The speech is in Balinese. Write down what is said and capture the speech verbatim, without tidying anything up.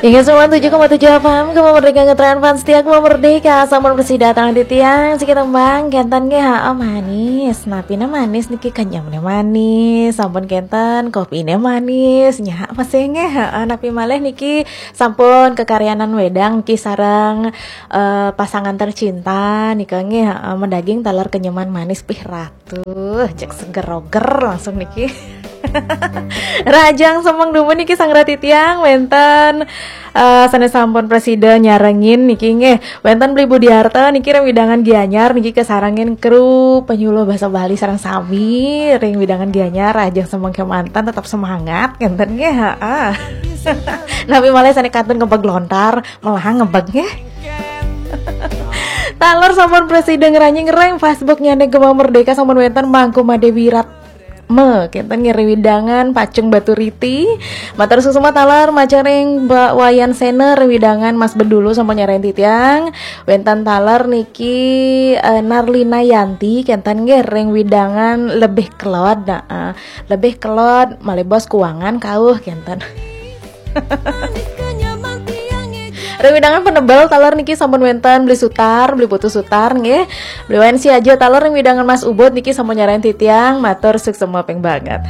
Inggih sembilan tujuh koma tujuh F M, Gema Merdeka ngetren fans setia Gema Merdeka, sampun prasida titiang, siki tembang kenten nggih, ha, manis. Napine manis niki, kenyemne manis, sampun kenten kopine manis, nyak masih nggih, ha, napi malih niki sampun kekaryanan wedang niki sareng, eh, pasangan tercinta nika nggih, ha, mendaging taler kenyeman manis pih ratu, cek seger roger langsung niki. Rahajeng semeng dumun niki sang rati tiang wenten, eh, sane sampun prasida nyarengin niki nggih. Wenten Bli Budiarto niki ring wewidangan Gianyar niki kasarengin kru penyuluh basa Bali sareng sami ring wewidangan Gianyar. Rahajeng semeng kemanten, tetap semangat ngenten nggih, heeh. Napi malih sane kantun ngebeg lontar, melahang ngebeg nggih. Taler sampun prasida ngranjing ring Facebook nyane Gema Merdeka, sampun wenten Mangku Made Wirat me kenten nggih ring wewidangan Pacung Baturiti. Matur suksma taler majeng ring Mbak Wayan Sena ring wewidangan Mas Bedulu sampun nyarengin titiang. Wenten taler niki, eh, Narlina Yanti kenten nggih ring wewidangan Lebih Kelod. Nah, eh, Lebih Kelod malih bos kuangan kauh kenten. Ring wewidangan Penebel taler niki sampun wenten Bli Sutar, Bli Putu Sutar nggih. Bli Wayan Siaja taler ring wewidangan Mas Ubud niki sampun nyarengin titiang, matur suksma ping banget.